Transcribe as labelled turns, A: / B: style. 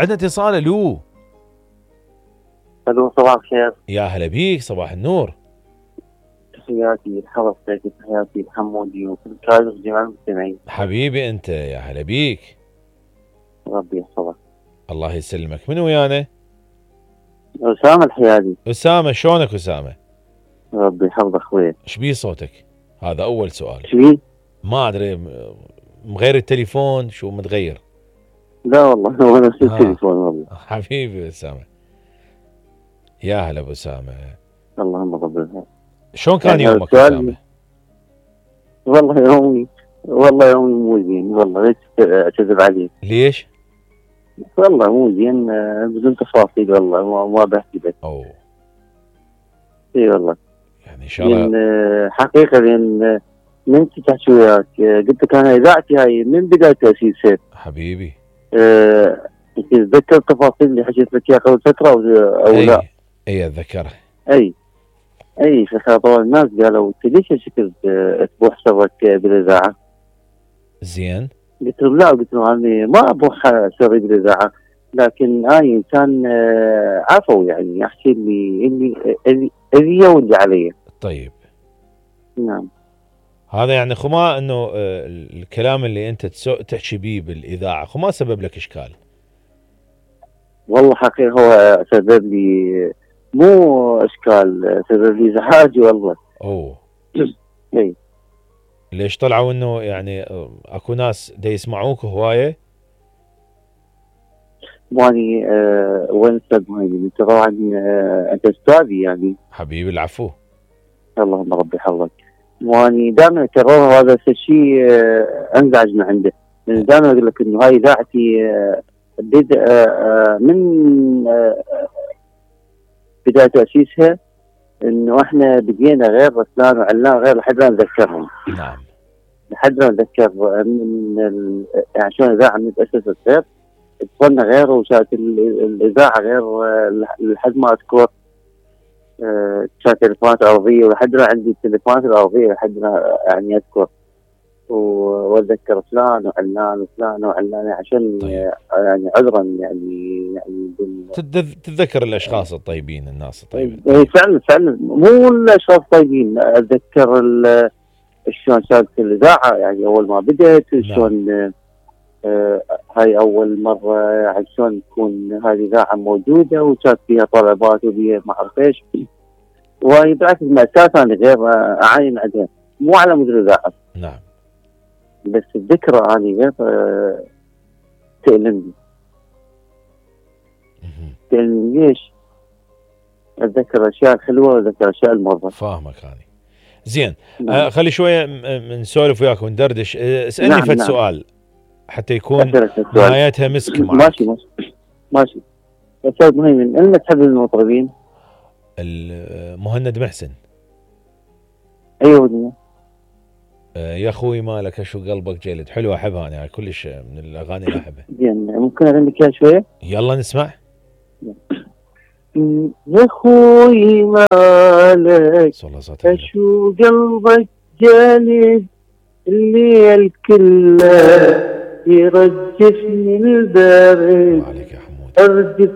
A: عندنا اتصال. الو
B: الو صباح الخير.
A: يا هلا بيك، صباح النور.
B: تحياتي لحضرتك، تحياتي لحمودي وكل كادر جميع المستمعين.
A: حبيبي انت، يا هلا بيك.
B: ربي يحفظك.
A: الله يسلمك. من ويانا؟
B: أسامة الحيادي.
A: أسامة، شلونك أسامة؟
B: ربي يحفظك اخوي.
A: ايش بيه صوتك؟ هذا أول سؤال.
B: شبيه؟
A: ما أدري، مغير التليفون؟ شو متغير؟
B: لا والله هو نفس التليفون والله.
A: حبيبي أسامة، يا هلا أبو أسامة.
B: اللهم قبلها.
A: شلون كان يومك أسامة؟
B: والله يومي مو زين والله، ليش أكذب عليك؟
A: ليش؟
B: والله مو زين بدون تفاصيل والله ما بحكي لك.
A: أوه.
B: اي والله.
A: يعني إن شاء الله.
B: حقيقة لأن من تحكي وياك قلت لك أنا إذاعتي هاي من بداية تأسيسها.
A: حبيبي.
B: تتذكر التفاصيل اللي حكيت لك اياها قبل فترة أو لا؟
A: اي اتذكرها.
B: اي فخاطر الناس قالوا انت ليش هالشكل تبوح سرك بالاذاعه؟
A: زين.
B: قلت لهم لا، قلت لهم انا ما ابوح سري بالاذاعه، لكن انا انسان عفوي، يعني احكي اللي واللي علي.
A: طيب.
B: نعم.
A: هذا يعني خما انه الكلام اللي انت تحكي بيه بالاذاعه خما سبب لك اشكال؟
B: والله حقيقة هو سبب لي مو اشكال، سبب لي ازعاج والله.
A: اوه.
B: اي.
A: ليش طلعوا انه يعني اكو ناس دا يسمعوك هوايه؟
B: ماني وين استاذ مهيمن؟ انت طبعا انت استاذي يعني.
A: حبيبي العفو.
B: اللهم ربي يحفظك. واني دائما اكررها، هذا الشيء انزعج من عنده، لان دائما اقول لك انه هاي اذاعتي من بدايه تاسيسها، انه احنا بدينا غير فلان وعلان غير لحد ما نذكرهم.
A: نعم.
B: لحد ما نتذكر يعني شلون الاذاعه من تاسست غير، اتصلنا غير، وكانت الاذاعه غير لحد ما اذكر كانت تليفونات ارضيه، ولحد ما عندي التليفونات الارضيه لحد ما يعني اذكر واتذكر فلان وعلان وفلان وعلان عشان
A: طيب.
B: يعني عذرا يعني
A: تتذكر الاشخاص الطيبين، الناس الطيبين.
B: طيب. فعلا مو الاشخاص الطيبين، اتذكر شلون كانت الاذاعه يعني اول ما بدات، شلون هاي اول مره يعني شلون تكون هذه الاذاعه موجوده وكانت فيها طلبات وبيها ما اعرف ايش، وهي بالعكس مأساة انا غير اعاين عندها، مو على مدير الاذاعه.
A: نعم.
B: بس الذكرى هذه غير تألمني. تألمني ليش؟ اتذكر الاشياء الحلوه واتذكر الاشياء المره.
A: فاهمك هذه. زين. خلي شويه نسولف وياك وندردش. اسالني
B: نعم.
A: فد سؤال حتى يكون نهايتها مسك معك.
B: ماشي. استاذ مهيمن، انت تحب المطربين؟
A: مهند محسن.
B: ايوه.
A: يا اخوي مالك شو قلبك جلد، حلو احبها انا، كلش من الاغاني اللي احبها.
B: زين، ممكن اغنيك اياها شويه؟
A: يلا نسمع.
B: يا اخوي مالك شو قلبك جلد، الليل كله يرجفني البرد،
A: عليك يا حمود.